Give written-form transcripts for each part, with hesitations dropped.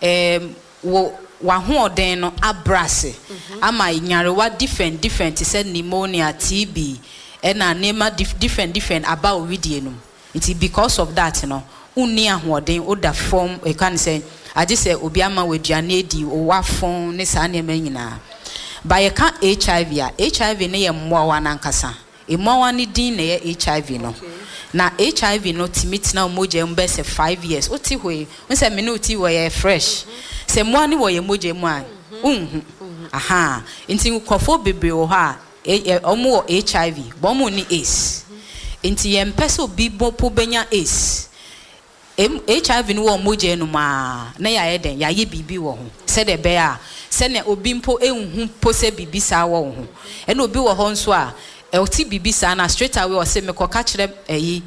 Ɛɛm, wo w'ahoɔden no abrɛ ase ama nyarewa different different te sɛ pneumonia, TB, ɛna nneɛma dif different different aba wo wedeɛ no mu. Nti because of that no, wonni ahoɔden, woda fam, yɛka no sɛn, agye sɛ obi ama wo aduane adi, w'afon ne saa nneɛma yi nyinaa. But yɛka HIV a, HIV no yɛ mmoawa no ankasa. Mmoawa no din na ɛyɛ HIV no. Na HIV no tumi tena wo mogya mu bɛyɛ sɛ five years. Wote hɔ yi, wohu sɛ me ne wo te hɔ yi, ɛyɛ fresh. Sɛ mmoawa no wɔ yɛn mogya mu a, wonhu. Ahaa. Nti nkurɔfoɔ bebree wɔ hɔ a, wɔwɔ HIV, but wɔnni AIDS. Nti yɛmpɛ sɛ obi mpo bɛnya AIDS. HIV no wɔ mogya no mu ara na yɛayɛ dɛn? Yɛayɛ biribi wɔ ho sɛdeɛ ɛbɛyɛ a sɛnea obi mpo nhu mpo sɛ biribi saa wɔ wo ho. Ɛna obi wɔ hɔ nso a, ɔte biribi saa no a, straight away ɔse mekɔka kyerɛ ayi,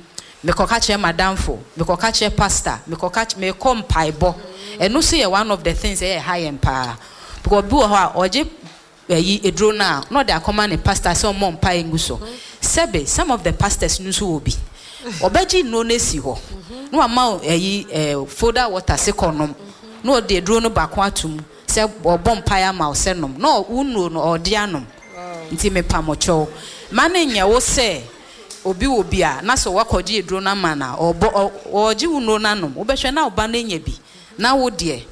mekɔka kyerɛ m'adamfo, mekɔka kyerɛ pastor, mekɔka mekɔ mpaebɔ. Ɛno nso yɛ one of the things a ɛha yɛn paa. Because obi wɔ hɔ a, ɔgye ayi aduro no a na ɔde akɔma ne pastor sɛ ɔmmɔ mpaeɛ ngu so. Sɛbe some of the pastors no nso wɔ bi. Ɔbɛgye nnuro no asi hɔ na wama wo ayi eh, folder water se kɔ nom na ɔde aduro no baako ato mu sɛ ɔbɔ mpaeɛ ama wo sɛ nom na wo nnuro no ɔde anom. Nti mepamokyɛw ma no nyɛ wo sɛ obi wɔ bi a na sɛ wakɔgye aduro no ama no a ɔbɔ ɔgye wo nnuro no anom wobɛhwɛ na wo ba no anya bi na wo deɛ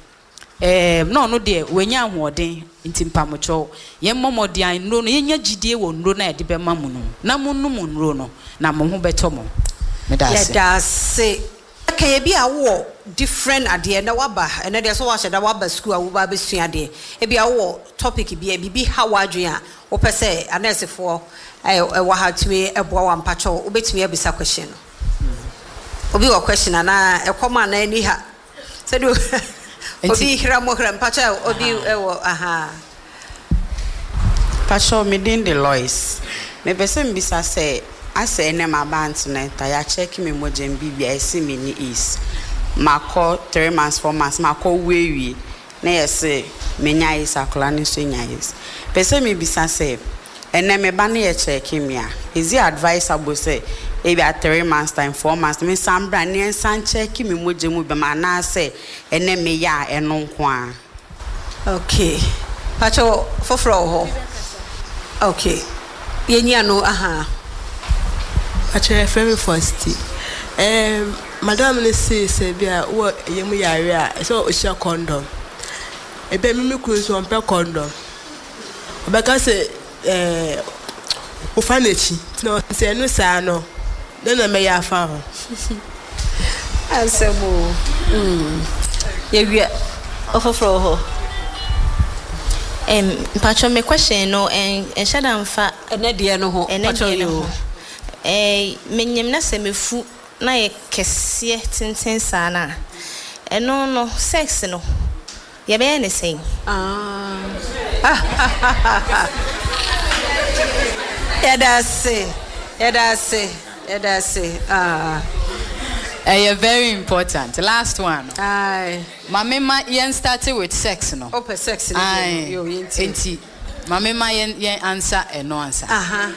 Ɛɛm, na ɔno deɛ wanya ahoɔden, nti mpamokyɛw, yɛmmɔ mmɔden a nnuro no, yɛnya gyidie wɔ nnuro no a yɛde bɛma mo no mu, na monnom nnuro no, na mo ho bɛtɔ mo. Meda ase. Yɛda ase. Ka ebi a wowɔ different adeɛ ɛnɛ waba ɛnɛ deɛ sɛ wahyɛ da waba sukuu a woba abɛsua adeɛ ebi a wowɔ topic bi a biribi ha w'adwene a wopɛ sɛ anɛɛsefoɔ ɛwɔ ha tumi boa wo a mpakyɛw wobɛtumi abisa question no obi wɔ question anaa ɛkɔm anaa ani ha. Sɛdeɛ obi hra mo hra mpakyɛ obi wɔ ahaa. Mpakyɛw me din de Lois. Mepɛ sɛ mebisa sɛ asɛ ɛnɛ maba antenatal yɛakyɛke me mogya mu biribia yɛse menni AIDS makɔ three months four months makɔ wu awie na yɛse menya AIDS akwadaa no nso anya AIDS pɛ sɛ mebisa sɛ Ɛnɛ me ba no yɛ kyɛɛke me a, is it advisable sɛ ebia three months time, four months me nsan bra na yɛnsan kyɛɛke me mogya mu biom anaasɛ ɛnɛ meyɛ a ɛno nko ara? Ok pakyɛw foforɔ wɔ hɔ ok yɛnyi ano ahaa. Pakyɛw yɛfrɛ me Fosti ɛɛm madam no see sɛ bi a wowɔ yamu yare a ɛsɛ sɛ wohyɛ kɔndɔm ebia me me kunu nso ɔmpɛ kɔndɔm Ɔbɛka sɛ ɛɛ wofa n'akyi nti na sɛ ɛno saa no dɛn na mɛyɛ afa ho. Asɛm o mm yɛwia ɔfoforɔ wɔ hɔ. Ɛm mpakyɛw me question no ɛnhyɛ da nfa. Ɛnɛ deɛ no ho ɛnɛ deɛ no ho ɛɛ menyim na sɛ mefu na yɛ kɛseɛ tenten saa no a ɛno no sex no. Yɛbɛyɛ no sɛn? Yɛda ase, yɛda ase, yɛda ase ah. Ɛyɛ very important. Last one no. Aye. Ma me ma yɛn start with sex no. Wopɛ sex no deɛ no, Aye. yo yɛntie. Enti ma me ma yɛn yɛn answer ɛno ansa. Aha.